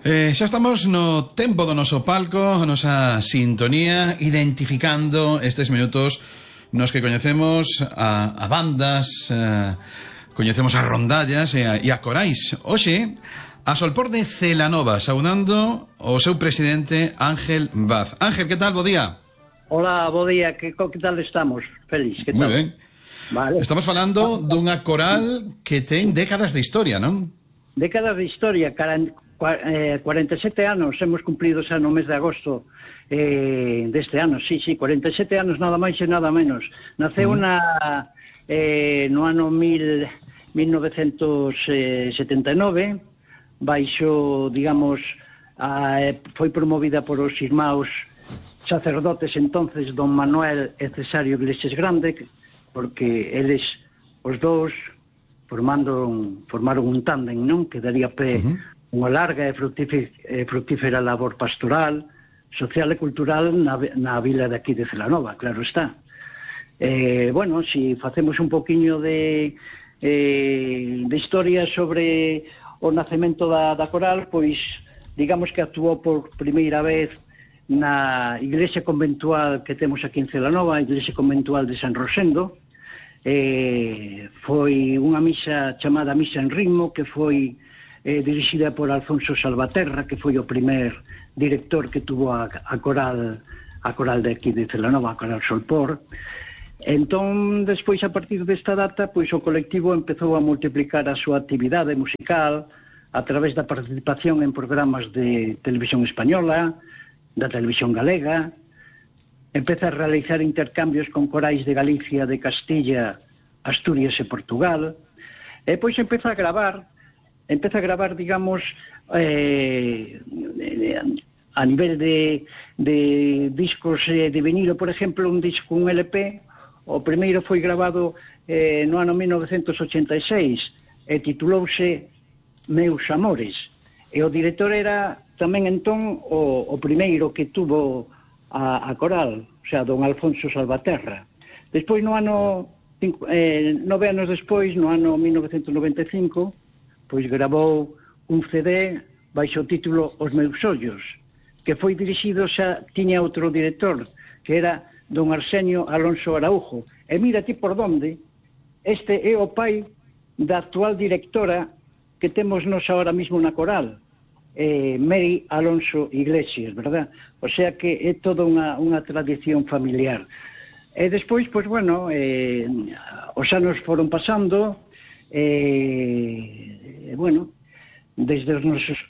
Xa estamos no tempo do noso palco, a nosa sintonía, identificando estes minutos nos que coñecemos a bandas, coñecemos as rondallas e a corais. Hoxe, a Solpor de Celanova, saudando o seu presidente Ángel Vaz. Ángel, que tal? Bo día. Hola, bo día, que tal estamos? Feliz, que tal? Moi ben. Vale. Estamos falando dunha coral que ten décadas de historia, non? Décadas de historia, 47 anos hemos cumplido xa no mes de agosto deste ano, sí, 47 anos nada máis e nada menos. Naceu no ano 1979, baixo, digamos, foi promovida por os irmãos sacerdotes entonces, don Manuel e Cesario Iglesias Grande, porque eles, os dous, formaron un tándem, non? Que daría pé unha larga e fructífera labor pastoral, social e cultural na vila de aquí de Celanova, claro está. Bueno, si facemos un poquinho de historia sobre o nacemento da coral, pois digamos que actuou por primeira vez na iglesia conventual que temos aquí en Celanova, a iglesia conventual de San Rosendo. Foi unha misa chamada Misa en Ritmo, que foi dirixida por Alfonso Salvaterra, que foi o primer director que tuvo a coral de aquí de Celanova, a coral Solpor. Entón, despois, a partir desta data, pois o colectivo empezou a multiplicar a súa actividade musical a través da participación en programas de televisión española, da televisión galega. Empeza a realizar intercambios con corais de Galicia, de Castilla, Asturias e Portugal. E pois empeza a gravar, digamos, a nivel de discos de vinilo, por exemplo, un disco, un LP, o primeiro foi grabado no ano 1986 e titulouse Meus Amores. E o director era tamén entón o primeiro que tuvo a coral, o sea, don Alfonso Salvaterra. Despois, no ano 9 anos despois, no ano 1995, pois gravou un CD baixo o título Os Meus Ollos, que foi dirixido, xa tiña outro director, que era don Arsenio Alonso Araujo. E mira ti por donde, este é o pai da actual directora que temos nos ahora mismo na coral, Mary Alonso Iglesias, verdad? O sea que é toda unha tradición familiar. E despois, pois, bueno, os anos foron pasando, bueno, desde os nosos